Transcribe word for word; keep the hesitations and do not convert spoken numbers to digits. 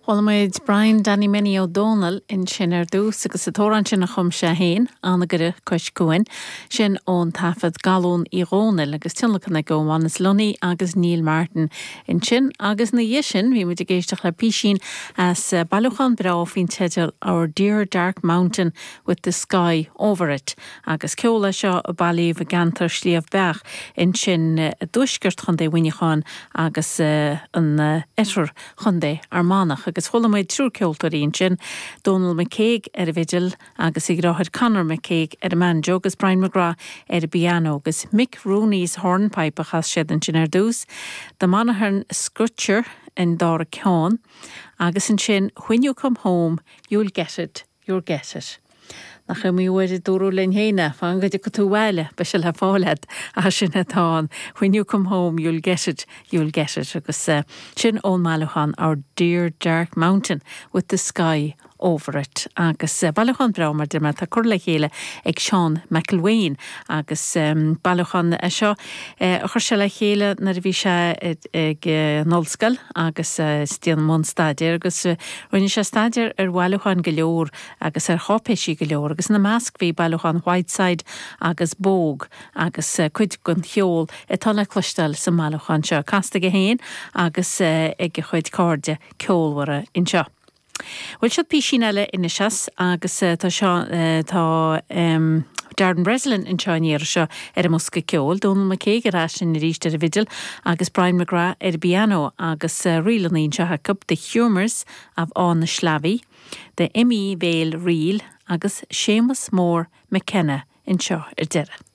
Chuala muid Brian Danny Minnie Ó Dónaill ansin ar dtús agus an t-amhrán sin a chum sé féin Anagaire Cois Cuain, sin ón taifead Galún Uí Dhónaill agus tionlacan ag ó Manus Lunny agus Neil Martin ansin agus ina dhiaidh sin bhí muid ag éisteacht le písín as bailiúchán breá faoin teideal Our Dear Dark Mountain with the Sky Over It agus ceol é seo a bailíodh i gceantar Sliabh Beach ansin i dtuaisceart Chontae Mhuineacháin agus an oirthear Chontae Fhear Manach agus chuala muid triúr ceoltóirí ansin, Donal McCague ar an bhfidil agus a dheartháir Conor McCague ar an mbanjo agus Brian McGrath ar an bpianó agus Mick Rooney's Hornpipe a chas siad ansin ar dtús, The Monaghan Screecher an dara ceann, agus ansin When you come home, you'll get it, you'll get it. Nach iomaí uair a dúradh linn féin fan go dtiocfaidh tú abhaile beidh sé le fáil agat ach sin atá ann. When you come home, you'll get it, you'll get it agus uh, sin ón mbailiúchán Our Dear Dark Mountain with the Sky over it agus uh, bailiúchán breá mar de tá curtha le chéile ag Seán McElwain agus um, bailiúchán é seo uh, chuir sé le chéile nuair a bhí sé ag uh, ollscoil agus uh, i mbun staidéir agus uh, rinne sé staidéar ar bhailiúcháin go leor agus ar cháipéisí go leor agus ina measc bhí bailiúchán Whiteside agus Bogue agus uh, cuid den cheol atá le cloisteáil sa mbailiúchán seo casta aige féin agus uh, ag a chuid cairde ceolmhara anseo. Bhuel seo písín eile anois agus uh, tá seo uh, tá um, Darren Breslin anseo an iarraidh seo ar an mbosca ceoil, Donal McCague ar ais arís ar an bhfidil agus Brian McGrath ar an bpianó agus uh, ríleanna anseo acu The Humours of Áth na Sleamhaí, The M.E. Vale Reel agus Séamus Mór McKenna anseo ar deireadh.